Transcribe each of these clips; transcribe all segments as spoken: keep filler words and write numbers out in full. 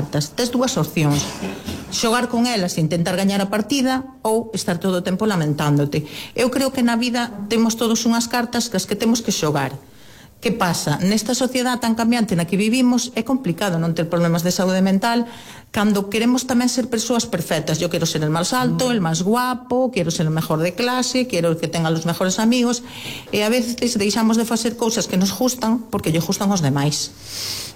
cartas. Tes dúas opcións: xogar con elas e intentar gañar a partida, ou estar todo o tempo lamentándote. Eu creo que na vida temos todos unhas cartas que as que temos que xogar. Que pasa? Nesta sociedade tan cambiante na que vivimos é complicado non ter problemas de saúde mental cando queremos tamén ser persoas perfectas. Yo quero ser el máis alto, el máis guapo, quero ser o mejor de clase, quero que tenga os mejores amigos, e a veces deixamos de facer cousas que nos gustan porque lle gustan os demais.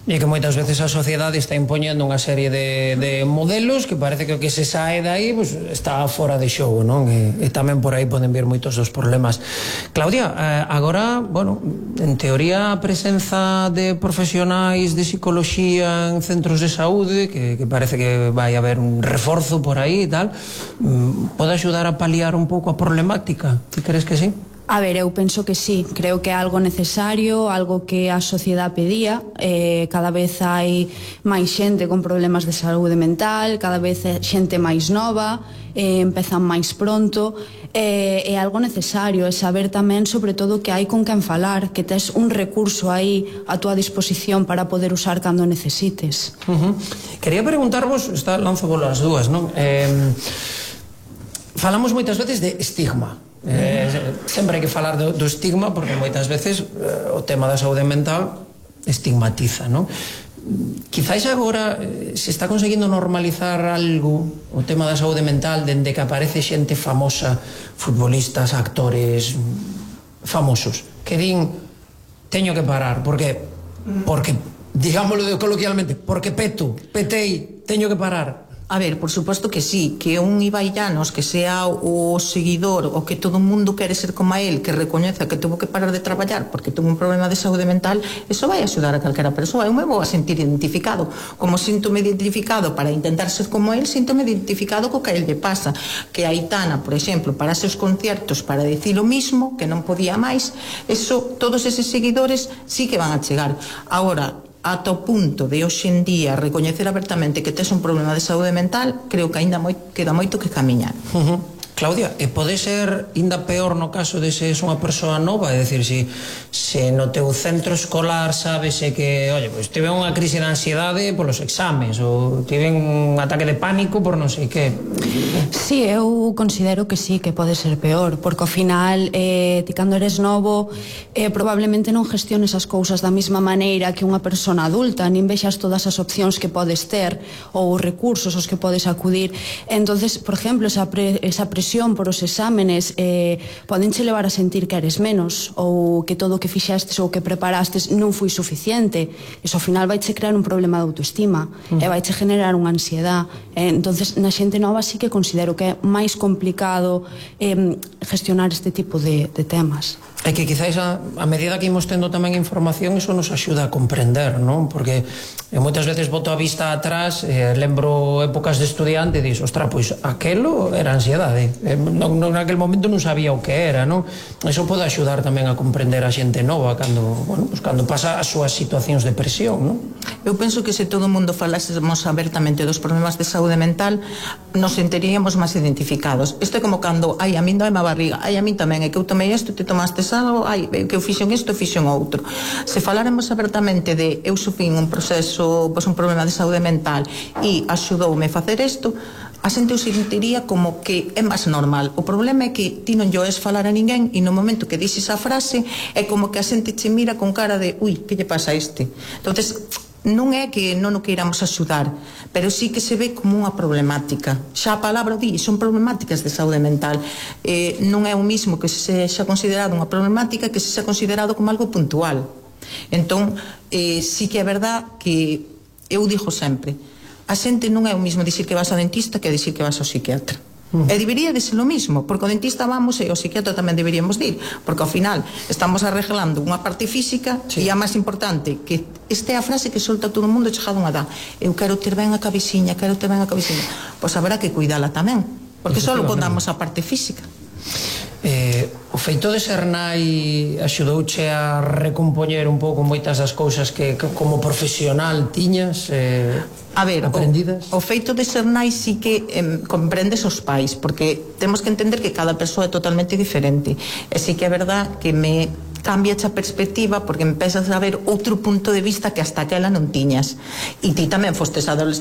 E que moitas veces a sociedade está impoñendo unha serie de, de modelos que parece que o que se sae dai pues, está fora de xogo, non? E, e tamén por aí poden vir moitos dos problemas. Claudia, eh, agora, bueno, en teoría a presenza de profesionais de psicoloxía en centros de saúde, que, que parece que vai haber un reforzo por aí e tal, pode axudar a paliar un pouco a problemática? Ti crees que sí? A ver, eu penso que sí, creo que é algo necesario, algo que a sociedade pedía. eh, cada vez hai máis xente con problemas de saúde mental, cada vez é xente máis nova, eh, empezan máis pronto, eh, é algo necesario, é saber tamén sobre todo que hai con quen falar, que tes un recurso aí a túa disposición para poder usar cando necesites. Uh-huh. Quería preguntarvos, está, lanzo bolas dúas, non? Eh, falamos moitas veces de estigma. Eh, sempre hai que falar do, do estigma porque moitas veces eh, o tema da saúde mental estigmatiza, non? Quizáis agora eh, se está conseguindo normalizar algo o tema da saúde mental dende que aparece xente famosa, futbolistas, actores famosos, que din teño que parar porque, porque digámoslo coloquialmente, porque peto, petei, teño que parar. A ver, por suposto que sí, que un Ibai Llanos que sea o seguidor o que todo o mundo quere ser como a él, que recoñeza que tuvo que parar de traballar porque tuvo un problema de saúde mental, eso vai axudar a calquera persoa. Eu me vou a sentir identificado, como síntome identificado para intentar ser como él, síntome identificado co que a él lle pasa. Que a Aitana, por exemplo, para seus conciertos para decir o mismo, que non podía máis, eso, todos eses seguidores sí que van a chegar. Agora, ata o punto de hoxe en día recoñecer abertamente que tes un problema de saúde mental, creo que aínda moi, queda moito que camiñar. Uh-huh. Claudia, e pode ser ainda peor no caso de se és unha persoa nova? É dicir, se, se no teu centro escolar sabese que, oye, pois tive unha crise de ansiedade polos exames, ou tive un ataque de pánico por non sei que. Sí, eu considero que sí, que pode ser peor, porque ao final eh, ti cando eres novo eh, probablemente non gestiones as cousas da mesma maneira que unha persona adulta, nin vexas todas as opcións que podes ter ou os recursos aos que podes acudir. Entonces, por exemplo, esa, pre, esa presión por os exámenes eh, podenche levar a sentir que eres menos, ou que todo o que fixestes ou que preparastes non foi suficiente. Iso ao final vaiche crear un problema de autoestima, mm. e vaiche generar unha ansiedade. Eh, entonces na xente nova sí que considero que é máis complicado eh, gestionar este tipo de, de temas. É que quizáis a, a medida que imos tendo tamén información, iso nos axuda a comprender, non? Porque eu moitas veces boto a vista atrás, eh, lembro épocas de estudiante e dis, ostra, pois aquelo era ansiedade, eh, non, non, naquel momento non sabía o que era, non? Iso pode axudar tamén a comprender a xente nova cando, bueno, pues, cando pasa as súas situacións de presión, non? Eu penso que se todo o mundo falásemos abertamente dos problemas de saúde mental, nos sentiríamos máis identificados. Isto é como cando, ai, a min dói má barriga, ai, a min tamén, é que eu tomei isto, te tomaste algo, ai, que eu fixen isto, fixen outro. Se faláramos abertamente de eu sufrín un proceso, pois un problema de saúde mental e axudoume a facer isto, a xente o sentiría como que é máis normal. O problema é que ti non llo es falar a ninguén e no momento que dixes a frase é como que a xente che mira con cara de ui, que lle pasa a este? Entonces, non é que non o queiramos axudar, pero sí que se ve como unha problemática. Xa a palabra o di, son problemáticas de saúde mental. Eh, non é o mismo que se xa considerado unha problemática que se xa considerado como algo puntual. Entón, eh, sí que é verdad que eu digo sempre, a xente non é o mismo dicir que vas ao dentista que dicir que vas ao psiquiatra. Uh-huh. E debería de ser o mismo, porque o dentista vamos e o psiquiatra tamén deberíamos de ir, porque ao final estamos arreglando unha parte física, sí. E a máis importante, que esta é a frase que solta todo o mundo chegado unha edad, eu quero ter ben a cabeciña, quero ter ben a cabeciña, pois haberá que cuidala tamén, porque só contamos a parte física. Eh, o feito de ser nai axudouche a recompoñer un pouco moitas das cousas que, que como profesional tiñas eh, a ver, aprendidas? O, o feito de ser nai sí que eh, comprendes os pais, porque temos que entender que cada persoa é totalmente diferente, e sí que é verdad que me cambia a perspectiva porque empezas a ver outro punto de vista que hasta aquela non tiñas, e ti tamén fostes adolescente